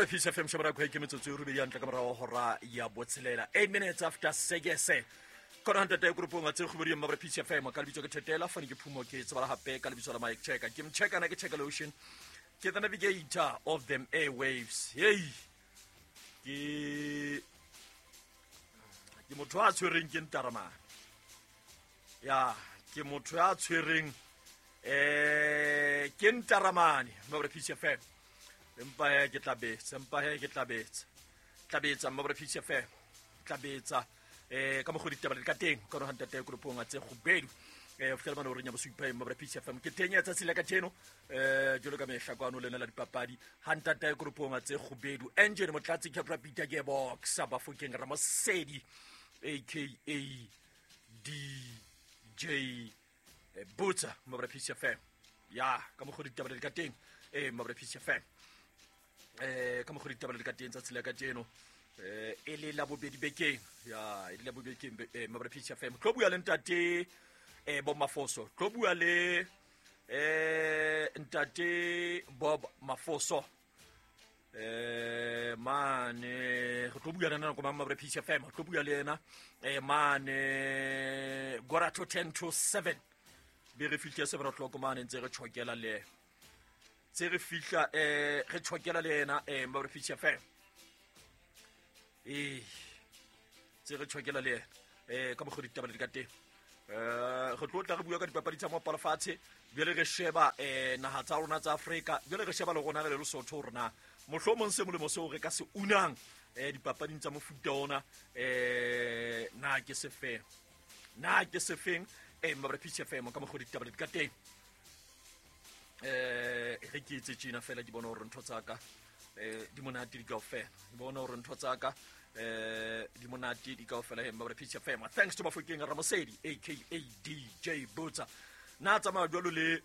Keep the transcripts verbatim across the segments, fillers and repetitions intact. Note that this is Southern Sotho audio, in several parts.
Mabra Peace F M shebra kwa ke metsotso e robedi hantle ka morao hora ya botshelela eight minutes after six kona ntate grupong a tse kgobedi Mabra Peace F M ka lebitso ke Thetela fane ke phumo ke tsebala hape ka lebitso la Mike Checker ke mchecka na ke check lotion ke the navigator of them airwaves. Hey ke ke motho a tshwereng ke ntaramane ya ke motho a tshwereng eh ke ntaramane Mabra Peace F M empa he ke tla betsa empa he ke tla betsa tla betsa Mabra Peace F M tla betsa eh ka mogodi ditaba le ka teng ka re hantate grupong a tse kgubedu eh fela bana o re nya bosupa Mabra Peace F M ke teng ya tsatsi la ka tjeno eh jolo ka mehla kwano lena la dipapadi hantate grupong a tse kgubedu engine motlatsi ke Peter Gearbox Bafokeng Ramosedi aka D J Butsa Mabra Peace F M ya ka mogodi ditaba le ka teng eh Mabra Peace F M eh ka mogodi ditaba le ka teng tsatsi la ka tjeno eh e le la bobedi bekeng ya e le la bobedi bekeng eh Mabra Peace F M tlo bua le ntate eh Bob Mafoso tlo bua le eh ntate Bob Mafoso eh mane re tlo bua le nna ko Mabra Peace F M tlo bua le yena eh mane quarter to ten to seven be re fihla seven o'clock mane ntse re tshokela le tse re fihla eh re tshokela le yena eh Mabra Peace F M eh tse re tshokela le yena eh ka mogodi ditaba le ka teng eh re tlo tla re bua ka dipapadi tsa moaparo fatshe jwale re sheba eh naha tsa rona tsa Afrika jwale re sheba le rona re le Lesotho rona mohlomong se molemo seo re ka se unang eh dipapading tsa mofuta ona eh na ke se feng na ke se feng eh Mabra Peace F M ka mogodi ditaba le ka teng eh re ke itse tjena fela ke bona hore ntho tsa ka eh di monate di kaofela ke bona hore ntho tsa ka eh di monate di kaofela he Mabra Peace F M. Thanks to Bafokeng Ramosedi aka D J Butsa na tsamaya jwalo le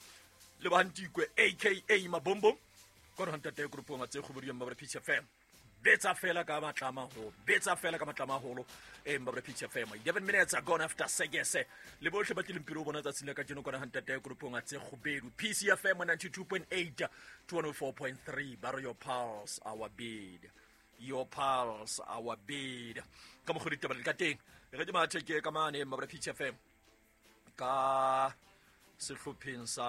le Bantikwe aka Mabombo kona ntate grupong a tse kgobedi Mabra Peace F M betsa fela ka matlama ho betsa fela ka matlama holo eh Mabra Peace F M eleven minutes are gone after six le bohle ba tlileng pele o bona tsatsing la ka tjeno kona ntate grupong a tse kgobedu P C F M ninety-two point eight to one oh four point three borrow your pulse our bid your pulse our bid ka mogodi ditaba le ka teng re di mathe ke ka mane Mabra Peace F M ka sehlopheng sa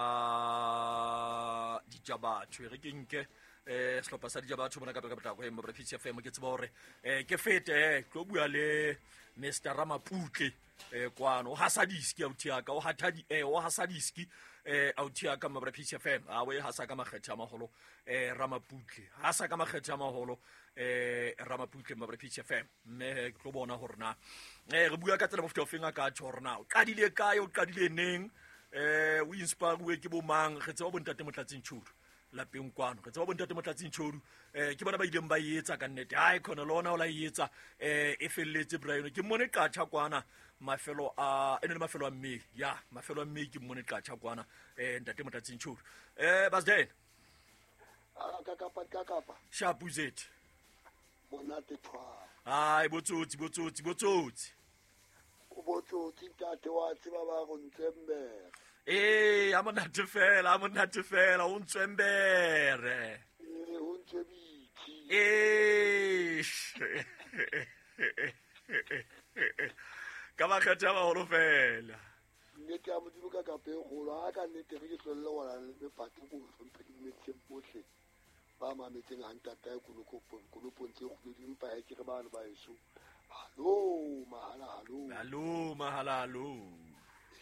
Dijabatho re ke nke eh sehlopha sa Dijabatho bona ka pele ka potlako e Mabra Peace F M ke tseba hore eh ke fete eh tlo bua le Mister Ramaputle eh kwano o hasa diski authi ya ka o hatha di eh o hasa diski eh authi ya ka Mabra Peace F M a we hasa ka makgethe a maholo eh Ramaputle hasa ka makgethe a maholo eh Ramaputle Mabra Peace F M mme ke tlo bona hore na eh re bua ka tsela mofuta ofeng a ka tjho hore na o qadile kae o qadile neng eh o inspire ke bo mang re tseba bontate Motlatsing Tshodu lapeng kwano re tseba bontate Motlatsing Tshodu eh ke bona ba ileng ba etsa ka nnete hai khona lona o la etsa eh e felletse Brian ke mmone qatjha kwana mafelo a ene le mafelo a mme ya mafelo a mme ke mmone qatjha kwana eh ntate Motlatsing Tshodu eh Basden a ka kapa ka kapa Shapuzet monate thwa ai botsotsi botsotsi botsotsi o botsotsi ntate wa tseba ba go ntsembere eh a monate fela a monate fela o ntsembere eh o ntsebitsi eh ka ba kgetha ba holo fela nnete ya Modimo ka kape golo a ka nnete re ke tlolle gona le pate go hlomphe dimetseng bohle ba mametseng ha ntata ya kolokopong kolopong tse kgobedi empa ha ke re bana ba eso hallo mahala hallo hallo mahala hallo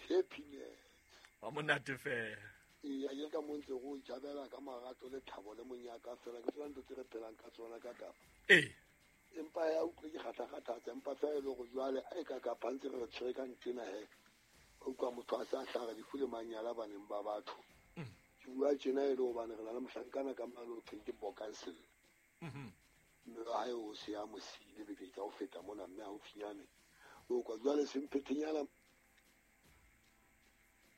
happiness wa monate fela ee a ke ka mo ntse go ijabela ka marato le thabo le monyaka fela ke tsona ntho tse re phelang ka tsona ka kapa ee empa ya utlwe ke kgatha-kgathatsa empa fela e le gore jwale a e ka kapa ntse re re tshwere ka ntena he o utlwa motho a sa hlaga lefu le manyala baneng ba batho ke bua tjena e le hobane re na le mohlankana ka mane o thweng ke Bokansel mme wa hae o se a mo siile beke tsa ho feta mona mme haufinyane o kwa jwale semphethenyana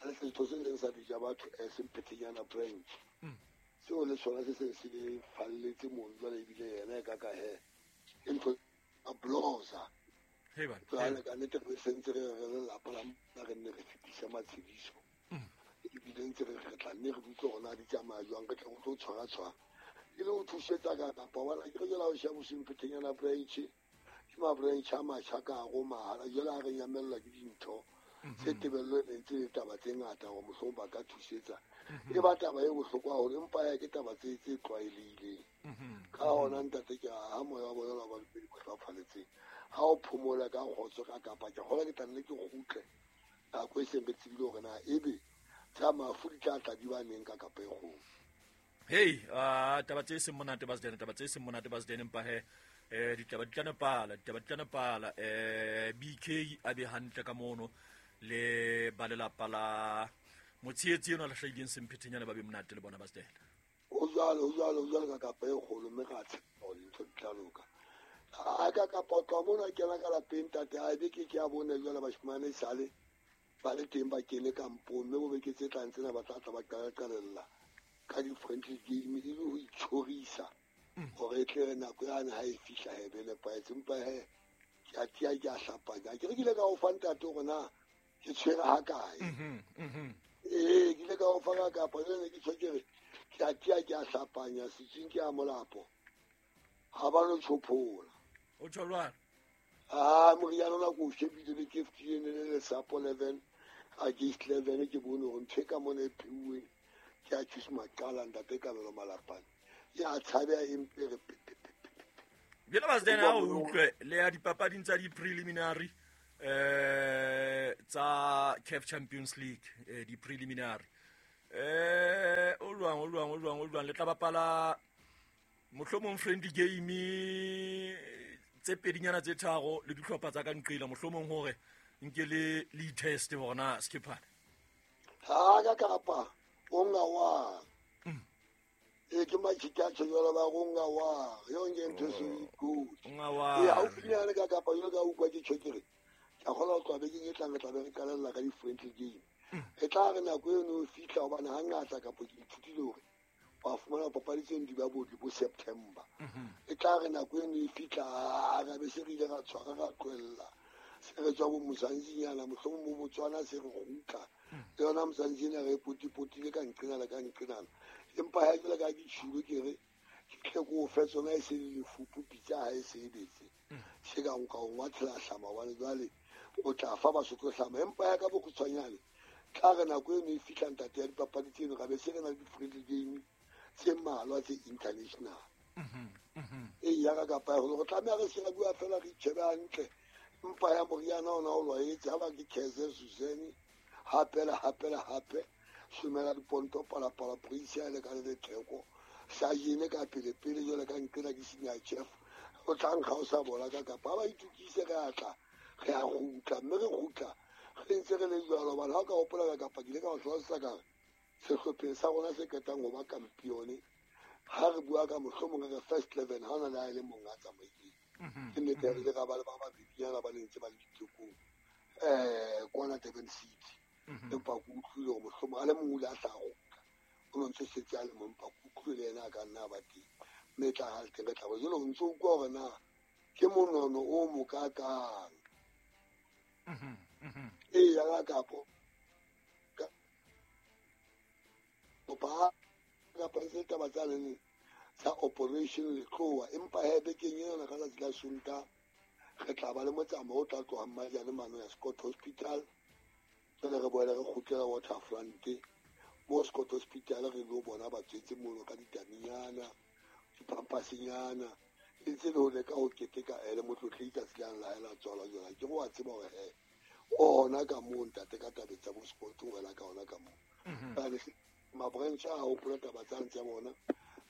le setho se leng sa Dijabatho eh semphethenyana branch seo le sona se seng se falletse mono jwale ebile yena e ka ka he ke ntho a blosa jwale ka nnete re sentse re re lelapa la re nne re fetisa matshediso ebile ntse re re tla nne re utlwe hore na di tsamaya jwang re tle re tlo tshwara tshwara E le ho thusetsa ka kapa wa ke re jela ho sheba Sempethenyana branch ke ma branch a matjha ka go mahala jela a re nyamella ke dintho tse tebello e ntse le taba tse ngata hore mohlomong ba ka thusetsa e ba taba e bohlokwa haholo empa ya ke taba tse tse tlwaelehileng ka hona ntate ke ha moya wa bona ba dipedi ba hlaphaletseng ha o phomola ka kgotso ka kapa ke kgola ke tla nne ke kgutle nako e seng re tsebile hore na ebe tsa mafu di tla tla di ba neng ka kapa e kgolo. Hey, ah taba tse seng monate ba tsene taba tse seng monate ba tsene empa he eh ditaba di tla nepala ditaba di tla nepala eh B K a be hantle ka mono le ba lelapa la motshehetsi eno a lahlehileng Sempethenyana ba be monate le bona ba tsene. O jwalo o jwalo o jwalo ka kapa e kgolo mme ra tshepa hore dintho di tla loka. A ka kapa o tloha mona kena ka lapeng ntate a be ke ke a bone jwale bashimane sale ba le teng ba kene kampong mme bo beke tse tlang tsena ba tla tla ba qalella ka di-friendly game e le ho itjhorisa hore e tle re nako yane ha e fihla he be nepahetse empa he ke a tiya ke a hlapanya. Ke re ke ile ka o fa ntate hore na ke tshwere ha kae. Ee ke ile ka o fa ka kapa jwale ke tjho ke re ke a tiya ke a hlapanya setsing ke a molapo ha ba no tjhophola. O tjho jwang? Ah moriana ona ko o shebile be ke fetileng le lesapo eleven against eleven ke bone hore ntho e ka mona e pheuweng ke a choose maqala ntate Kabelo Malapane ya tshabeha empe re Jwale ba tsena o utlwe le ya dipapading tsa di-preliminary eh tsa C A F Champions League eh di-preliminary eh o lwang o lwang o lwang o lwang le tla bapala mohlomong friendly game tse pedinyana tse tharo le dihlopha tsa ka nqila mohlomong hore nke le le test hore na Skipper ha ka kapa o nga wa e ke machita tjho ba go nga wa yo nge ntho se good nga wa e haufinyane ka kapa yo ka utlwa ke tjho ke re ka kgola ho tloha bekeng e tlang re tla be re qalella ka di-friendly game e tla re nako eno e fihla hobane hangata kapo ke ithutile hore wa fumana papadi tseno di ba bo bo September e tla re nako eno e fihla ra be se re ile ra tshwara ra tlohella se re tswa bo Mozanzinyana mohlomong bo Botswana se re kgutla le yona Mozanzinyana re potipotile ka nqenana ka nqenana empa ha jwale ka ke tjhilo ke re ke tle ko o fe tsona e se le lefupu pitsa ha e sebetse se ka nka o ngwathela hlama hobane jwale o tla fa Basotho hlama empa ya ka bokgutshwanyane tla re nako eno e fihla ntate ya dipapadi tseno ra be se re na le di-friendly game tse mmalwa tse international e ya ka kapa ya hore tlameha re se ra bua fela re itjhebe hantle empa ya moriana ona o lwaetse ha ba ke Keze Suzanne hape le hape le hape somela diponto palapala polisi a le ka le letheko sa jene ka pele pele jwale ka nqena ke senior chef o tla nkga o sa bola ka kapa ba itukise re a tla re a kgutla mme re kgutla re ntse re le jwalo hobane ha o ka hopola ka kapa ke ile ka o hlalosetsa ka re sehlopheng sa rona se qetang ho ba kampione ha re bua ka mohlomong re first eleven ha ona le ha e le mong a tsamaileng ke nnete re ile ra ba le ba babedinyana ba ne ntse ba le ditekong um kwana Durban City empa ke utlwile hore mohlomong a le mong o ile a tla kgutla o no ntse setse a le mong empa ke utlwile le yena a ka nna a ba teng mme e tla ha le teng re tla bo jwale o ntso utlwa hore na ke monono o mokakang ee ya ka kapo ba kapa tse taba tsa leng tsa operation Letloa empa he bekeng ena ka tsatsi la Sontaha re tla ba le motsamao o tla tlohang Majane mane ya Scott Hospital jwale re boele re kgutlela Waterfront mo Scott Hospital re lo bona batswetse mono ka ditaminyana dipampasinyana e ntse le ho leka ho keteka ele motlotlehi tsatsi lane la hae la tswalwa jwale ke go a tseba hore he o hona ka moo ntate ka tabeng tsa bo sport o wela ka hona ka moo ma-branch a hopola taba tsane tsa bona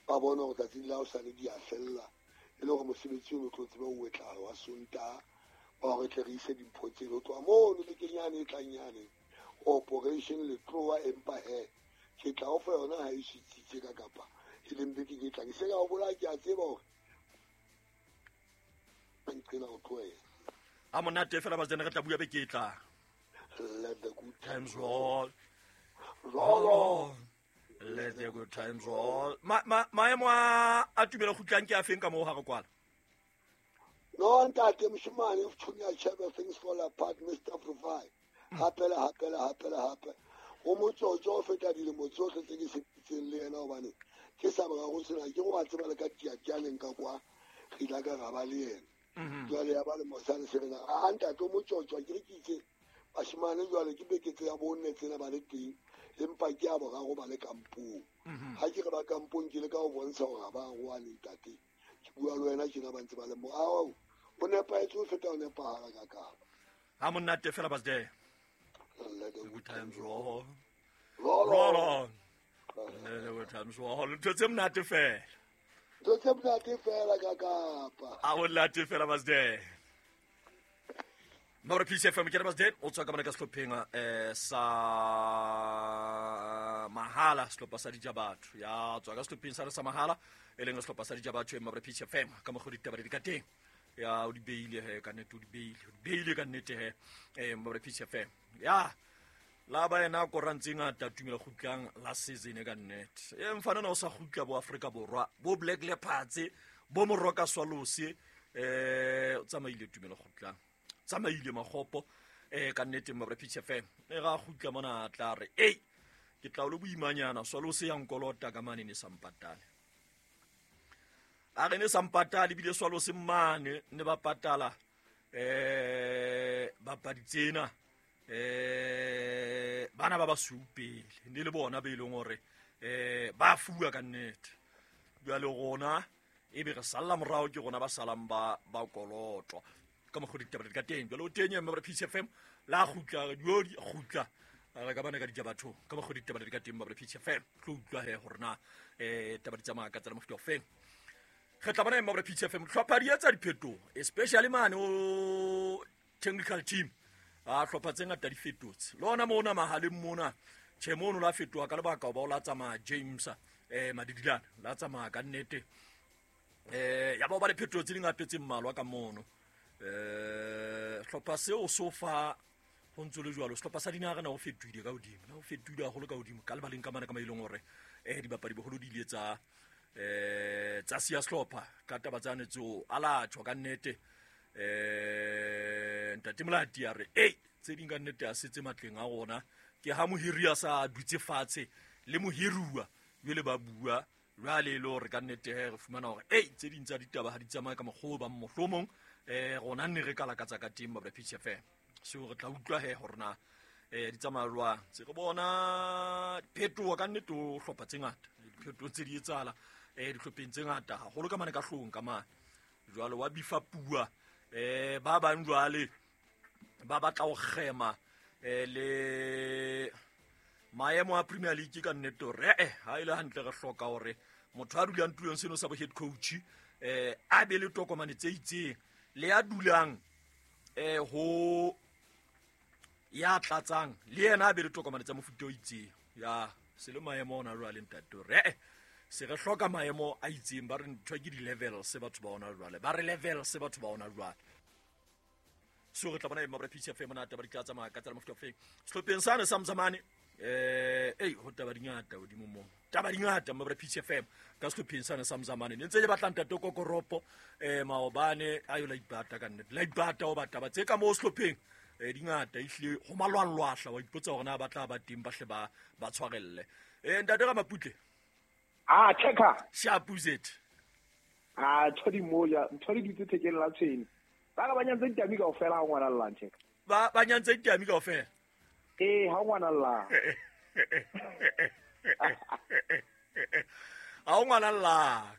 ba bona hore tsatsing la hosane di a fella e le hore mosebetsi ono o tlo tseba o etlahala wa Sontaha wa hore tle re ise dimpho tseno ho tloha mono bekeng yane e tlang yane operation Letloa empa he ke tla o fa yona ha e sitsitse ka kapa e leng bekeng e tlang se ka o bolaya ke a tseba hore nqena ho tlohela a monate fela ba tsena re tla bua beke e tlang. Let the good times roll. Roll on. Let the good times roll. Ma ma maemo a a tumelo kgutlang ke a feng ka moo ha re kwala? No ntate moshemane o tshunya chebe things fall apart Mister Provide. Hape le hape le hape le hape. O motsotso o feta dilemo tsohle tse ke sebeditseng le yena hobane Ke sa boraro sena ke go a tseba le ka tiatianeng ka kwa re ile ka ra ba le yena. Jwale ya ba le mosadi se rena a ntate o motjotjo ke re ke itse bashimane jwale ke beketse ya bonne tsena ba le teng empa ke a boraro ba le kampong. Ha ke re ba kampong ke le ka ho bontsha hore ha ba roane ntate. Ke bua le wena tjena ba ntse ba le mo. Ao o nepahetse ho feta o nepahala ka kapa. Ha monate fela basde. Let the good times roll. Roll Roll on. Let the good times roll. Ntho tse monate fela. Ntho tse monate fela ka kapa. A monate fela basde. Maura P C F M ke re basde o tswa ka mona ka sehlopheng eh sa Mahala sehlopha sa Dijabatho. Ya tswa ka sehlopheng sa re sa Mahala e leng sehlopha sa Dijabatho e Maura P C F M ka mokgwa ditaba di ka teng. Ya o di beile he ka nnete o di beile o di beile ka nnete he eh Maura P C F M. Ya la ba ena korantse ngata tumela kgutlang la season ka nnete. E mfana na o sa kgutla bo Afrika Borwa bo Black Leopards bo Moroka Swallows eh o tsamaile tumela kgutlang. Tsamaile makgopo eh ka nnete Maura P C F M. E ga kgutla mona tla re ei ke tla o le boimanyana Swallows ya nkolota ka mane ne sampatale. A re ne sampatale bile Swallows mane ne ba patala eh bapadi tsena eh bana ba ba supele ne le bona be ileng hore eh ba fuwa ka nnete. Jwale rona e be re salla morao ke rona ba salang ba ba kolotwa ka mokgwa ditaba di ka teng. Jwale o teng Maura P C F M la kgutla dio di kgutla re ka bana ka dijabatho ka mokgwa ditaba di ka teng Maura P C F M tlo utlwa he hore na eh taba di tsamaya ka tsela mofuta o feng. Re tla bona Maura P C F M hlopha di etsa diphetoho especially mane o technical team a hlopha tse ngata di fetotse le ona mona mahaleng mona tjhe mono la fetoha ka lebaka ba o la tsamaya James eh Madidilana la tsamaya ka nnete eh ya ba ba le phetoho tse dingata tse mmalwa ka mono. Eh hlopha seo so fa ho ntse le jwalo sehlopha sa dinaha na ho fetohile ka hodimo na ho fetohile haholo ka hodimo ka lebaleng ka mana ka maileng hore eh dibapadi boholo di ile tsa eh tsa siya sehlopha ka taba tsane tseo ala tjho ka nnete eh ntate Molati a re ei tse ding ka nnete a setse matleng a rona ke ha mohiri a sa dutse fatshe le mohiruwa jwale ba bua jwale le hore ka nnete re fumana hore ei tse ding tsa ditaba ha di tsamaye ka mokgwa ba mohlomong eh rona nne re kala ka tsa ka teng ba P C F M so re tla utlwa he hore na eh di tsamaya jwang. Se re bona diphetoho ka nnete o hlopha tse ngata diphetoho tse di etsahala eh dihlopheng tse ngata haholo ka mane ka hlong ka mane jwale wa bifa pua eh ba bang jwale ba batla ho kgema eh le maemo a Premier League ka nnete hore eh ha ile hantle re hloka hore motho a dulang tulong seno sa bo head coach eh a be le tokomane tse itseng le ya dulang eh ho ya tlatsang le yena a be le tokomane tsa mofuta o itseng. Ya se le maemo ona jwale ntate hore eh se re hloka maemo a itseng ba re ntho ke di-level se batho ba ona jwale ba re level se batho ba ona jwale. So re tla bona Maura P C F M mona taba di tla tsamaya ka tsela mofuta o feng sehlopheng sane sa Mzamane eh ei ho taba di ngata hodimo mo taba di ngata Maura P C F M ka sehlopheng sane sa Mzamane ne ntse le batla ntate Kokoropo eh maobane ayo la ipata ka nnete la ipata o bataba tse ka mo sehlopheng eh di ngata ehlile ho malwalwahla wa ipotsa hore na ba tla ba teng ba hle ba ba tshwarelle eh ntate ka Maputle. Ah checker Shapuzet ah thodi moja thodi ditse thekeng la tshwene ba ka ba nyantse ditami kaofela ha ngwana llang checker ba ba nyantse ditami kaofela eh ha ngwana llang ha ngwana llang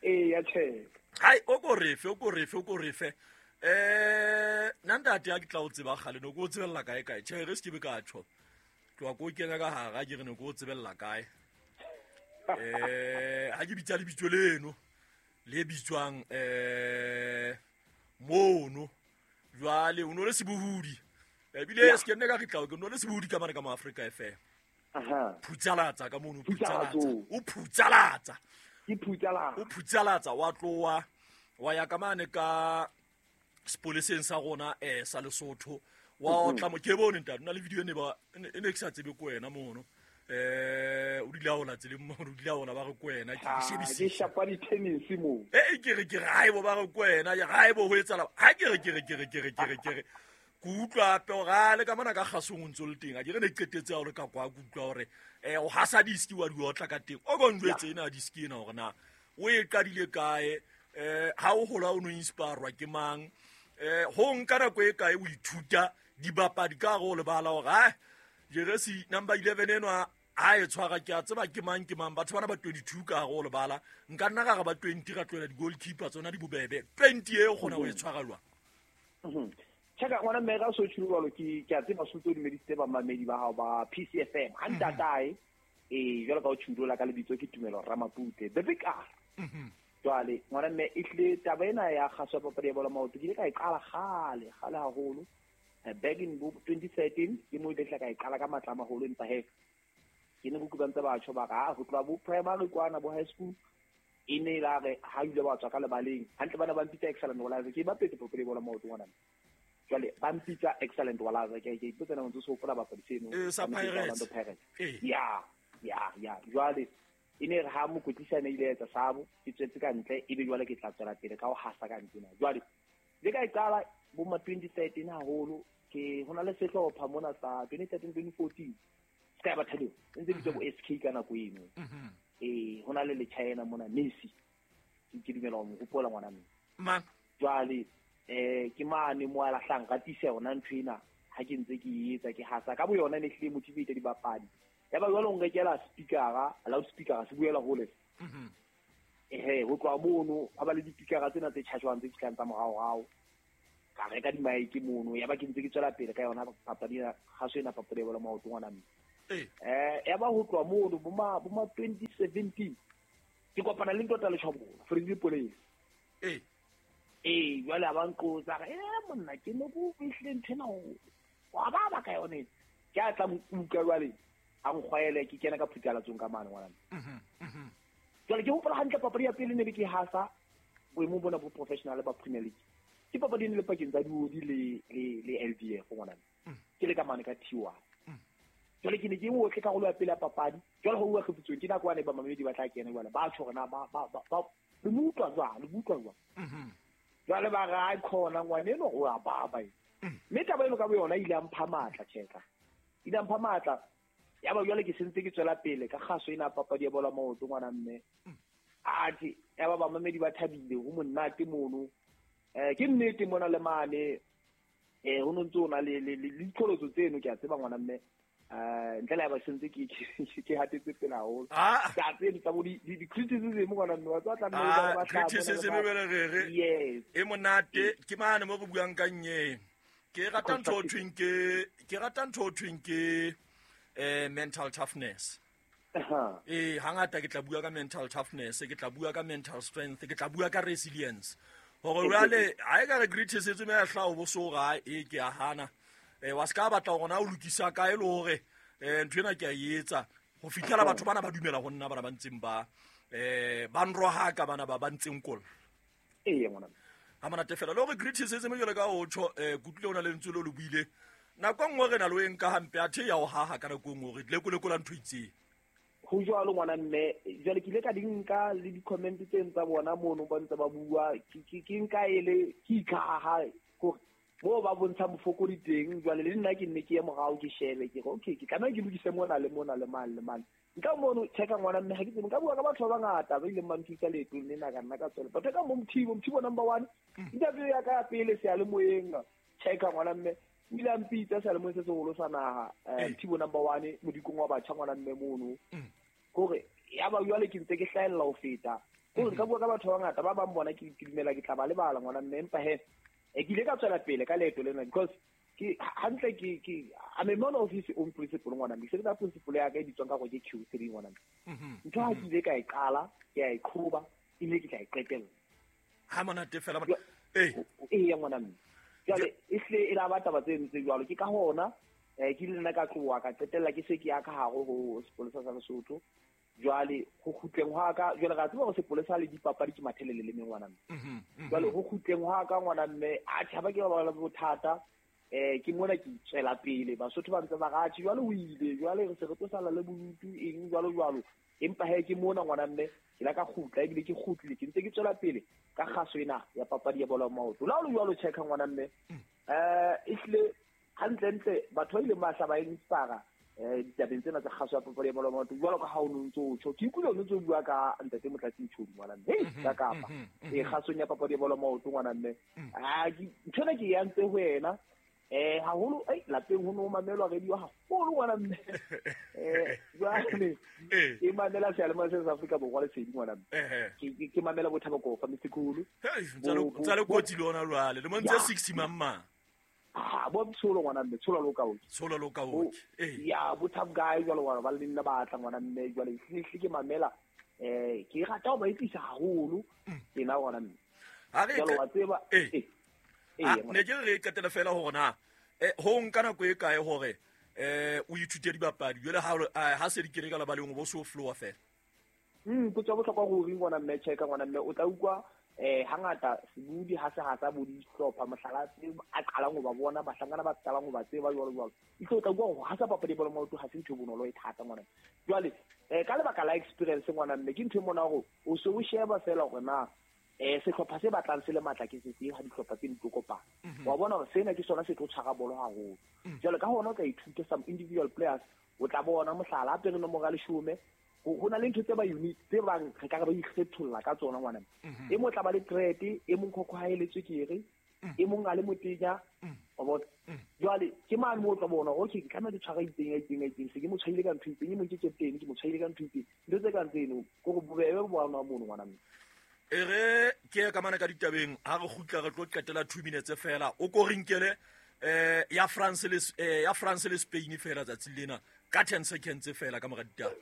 eh ya check hai o ko refe o ko refe o ko refe eh nna ntate a ke tla o tseba kgale no ko o tsebella kae kae tjhe re se ke be ka tjho tloha ko kena ka hara ke re ne ko o tsebella kae eh ha ke bitsa lebitso leno le bitswang eh mono jwale o no le sebohodi ebile se ke nne ka re tla ke no le sebohodi ka mane ka mo Africa F M. Aha phutsalatsa ka mono phutsalatsa o phutsalatsa ke phutsalatsa o phutsalatsa wa tloa wa ya ka mane ka sepoleseng sa rona eh sa Lesotho wa otla mo ke bone ntate na le video ne ba e ne ke sa tsebe ko wena mono eh o dile a ona tseleng mo o dile a ona ba re ko wena ke shebisitse ke shapa di tennis mo eh ke re ke re haebo ba re ko wena ya haebo ho etsala ha ke re ke re ke re ke re ke re ke re ke utlwa hape hore a le ka mona ka kgasong o ntso le teng a ke re ne qetetse ha o le ka kwa ke utlwa hore eh o hasa diski wa di otla ka teng o go njwetse ena diski ena hore na o e qadile kae eh ha o hola o no inspirwa ke mang eh ho nka nako e kae o ithuta dibapadi ka go le bala hore ha jeresi number eleven eno ha e tshwara ke a tseba ke mang ke mang batho bana ba twenty-two ka go le bala nka nna ga ba twenty ra tloela di goalkeeper tsona di bobebe twenty e gona o e tshwara lwa. Mhm. Cheka ngwana mme ga so tshilo ke ke a tseba sotso di meditse ba mamedi ba hao ba P C F M ha ntatae eh jwalo ka o tshilo la ka lebitso ke Tumelo Ramapute the big R. Mhm. Jwale ngwana mme e tle taba ena ya kgaso ya papadi ya bolo maoto ke ile ka e qala kgale kgale haholo back in twenty thirteen ke mo ile ka e qala ka matla a maholo empa he ke ne go kubantse batho ba ga go tloa bo primary kwana bo high school e ne la re ha ile ba tswa ka lebaleng hantle bana ba mpitsa excellent wala ke ba pete papadi ya bolo maoto ngwana. Jwale ba mpitsa excellent wala ke ke ipotsa na ntse so hopola bapadi seno e sa Pirates ya ya ya jwale e ne re ha mokwetlisa ne ile etsa sabo ke tswetse ka ntle ebe jwale ke tla tswela pele ka ho hasa ka ntle na jwale le ka e qala bo ma twenty thirteen haholo ke hona le sehlopha mona sa twenty thirteen twenty fourteen ska ba thelo ntse bitsa bo S K ka nako eno eh hona le le China mona Messi ke dumela ho hopola ngwana mme ma jwale eh ke mane mo a lahlang ka tisa yona ntho ena ha ke ntse ke etsa ke hasa ka bo yona ne hle motivate dibapadi ya ba jwale o nkekela speakera loud speaker se buela hole. Mhm. Eh ho tloha mono ha ba le dipikara tsena tse chargewang tse fihlang tsa morao rao ka reka di mic mono ya ba ke ntse ke tswela pele ka yona papadi ya kgaso ena papadi ya bolo maoto ngwana mme. Eh ya ba ho tloha mono bo ma bo ma twenty seventeen ke kopana le ntota le Tjhabolo Freddy Police. Eh eh jwale a ba nqotsa re eh monna ke ne go fihle ntho ena wa ba ba ka yone ke a tla nkuka jwale a nkgwaele ke kena ka phutalatsong ka mane ngwana. Mhm. Mhm. Jwale ke hopola hantle papadi ya pele ne be ke hasa boemo bona bo professional ba Premier League. Ke papadi ne le pakeng tsa Diodi le le le L D F ngwana. Ke le ka mane ka T one. Jwale ke ne ke otle karolo ya pele ya papadi. Jwale ho uwa kgefutso ke nako wane ba mamedi ba tla kena jwale ba tjho rena ba ba ba le mutwa jwang le mutwa jwang. Mhm. Jwale ba ra khona ngwane eno o a baba e. Mme taba eno ka bo yona ile a mpha matla tjeka. Ile a mpha matla. Ya ba jwale ke sentse ke tswela pele ka kgaso ena papadi ya bolo maoto ngwana mme. Athe ya ba ba mamedi ba thabile ho monate mono. Eh ke nnete mona le mane eh ho ntse ona le le diqholotso tseno ke a tseba ngwana mme. Eh ntle le ba sentse ke ke hatetse pele haholo. Ka tseno tsa bo di di criticism ngwana mme wa tla nna ba tla. Criticism e bele re re. Yes. E monate ke mane mo go buang ka nye. Ke rata ntho thweng ke ke rata ntho thweng ke eh mental toughness. Aha. Eh hangata ke tla bua ka mental toughness, ke tla bua ka mental strength, ke tla bua ka resilience. Hore jwale ha e ka re criticism ya hla o bo so ga e ke a hana. Eh wa ska batla hore na o lokisa kae le hore eh ntho ena ke a etsa ho fihlela batho bana ba dumela ho nna bana ba ntseng ba eh ba nroha ka bana ba ba ntseng kola. Eh ngwana. Ha monate fela le hore criticism jwale ka o tjho eh kutlile ona le ntse le lo buile. Nako nngwe re na le o e nka hampe athe ya o haha ka nako nngwe re lekolekola ntho itseng. Ho jwalo ngwana mme jwale ke ile ka di nka le di-comment tse tsa bona mono ba ntse ba bua ke ke nka ele ke ikhaha hore mo ba bontsha mofokodi teng jwale le nna ke nne ke ye morao ke shebe ke re okay ke tlameha ke lokise mona le mona le mane le mane. Nka mono checka ngwana mme ha ke tsebe nka bua ka batho ba bangata ba ileng ba nthusa leetong lena ka nna ka tswela. Batho ka mo Mothibo Mothibo number one interview ya ka ya pele seyalemoyeng checka ngwana mme o ile a mpitsa seyalemoyeng se seholo sa naha Mothibo number one modikong wa batjha ngwana mme mono. Hore ya ba jwale ke ntse ke hlahella ho feta. Hore nka bua ka batho ba bangata ba bang bona ke dumela ke tla ba lebala ngwana mme empa he e ke ile ka tswela pele ka leeto lena because ke hantle ke ke I'm a man of his own principle ngwana mme ke sebetsa principle ya ka e bitswang ka hore ke Q three ngwana mme. Ntho ha ke ile ka e qala ke a e qhoba ebile ke tla e qetella. Ha monate fela eh eh ya ngwana mme. Jwale e hle e la ba taba tse ntse jwalo ke ka hona eh ke ile nna ka tloha ka qetella ke se ke ya ka hare ho sepolesa sa Lesotho. Jwale ho kgutleng hwa ka jwale ra tseba hore sepolesa le dipapadi ke mathelele le mengwana mme. Jwale ho kgutleng hwa ka ngwana mme a tjhaba ke ba ba bothata eh ke mona ke tswela pele Basotho ba ntse ba ratjhe jwale o ile jwale re se re tlo sala le bodutu eng jwalo jwalo empa he ke mona ngwana mme ke la ka kgutla ebile ke kgutlile ke ntse ke tswela pele ka kgaso ena ya papadi ya bolo ya maoto. La o jwalo checka ngwana mme eh ehlile hantle ntle batho ba ile ba hla ba inspire eh ditabeng tsena tsa kgaso ya papadi ya bolo ya maoto jwalo ka ha o no ntso o tjho ke ikutlwa o ntso o bua ka ntate Motlatsi Ntshodi ngwana mme hei ka kapa e kgasong ya papadi ya bolo ya maoto ngwana mme a ntho ena ke e antse ho yena eh haholo ei lapeng ho no mamelwa radio haholo ngwana mme eh jwale e mamela seyalemoya sa Afrika Borwa Lesedi ngwana mme ke ke mamela Bothabo Kofa Mthimkhulu ntsa le kotsi le ona jwale le mo ntse sixty mamma ah bo tsholo ngwana mme tsholo lo ka o tsholo lo ka o eh ya bo tough guy jwalo ngwana ba le nna batla ngwana mme jwale hle ke mamela eh ke rata ho ba etsisa haholo ke na ngwana mme ha re jwalo wa tseba eh ne ke re qetela fela hore na eh ho nka nako e kae hore eh o ithute dibapadi jwale ha ha se di kere ka labaleng bo so flowa fela mm potso bohlokwa ruri ngwana mme cheka ngwana mme o tla utlwa eh hangata sebudi ha se ha sa bo dihlopha mohlala a qalang ho ba bona bahlankana ba qalang ho ba tseba jwalo jwalo itse o tla utlwa hore ha sa papadi bolo maoto ha se ntho bonolo e thata ngwana jwale eh ka lebaka la experience ngwana mme ke ntho e mona hore o se o sheba fela hore na eh sehlopha se batlang se le matla ke se seng ha dihlopha tse di tlo kopana wa bona hore sena ke sona se tlo tshwara bolo haholo jwale ka hona o tla ithuta some individual players o tla bona mohlala a pere nomoro ya leshome ho na le ntho tse ba unique tse bang re ka re ba ikgetholla ka tsona ngwana e mo tla ba le threat e mong khokho ha eletswe ke re e mong a le motenya wa bona jwale ke mane mo tla bona okay ke tlameha ke tshwara itseng itseng itseng se ke mo tshwaile ka ntho itseng e mong ke captain ke mo tshwaile ka ntho itseng ntho tse kang tseno ko go bobebe bo bona mono ngwana mme e re ke ka mana ka ditabeng ha re kgutla re tlo qetela two minutes fela o ko rinkele eh ya France le ya France le Spain fela tsatsi lena ka ten seconds fela ka mora ditaba.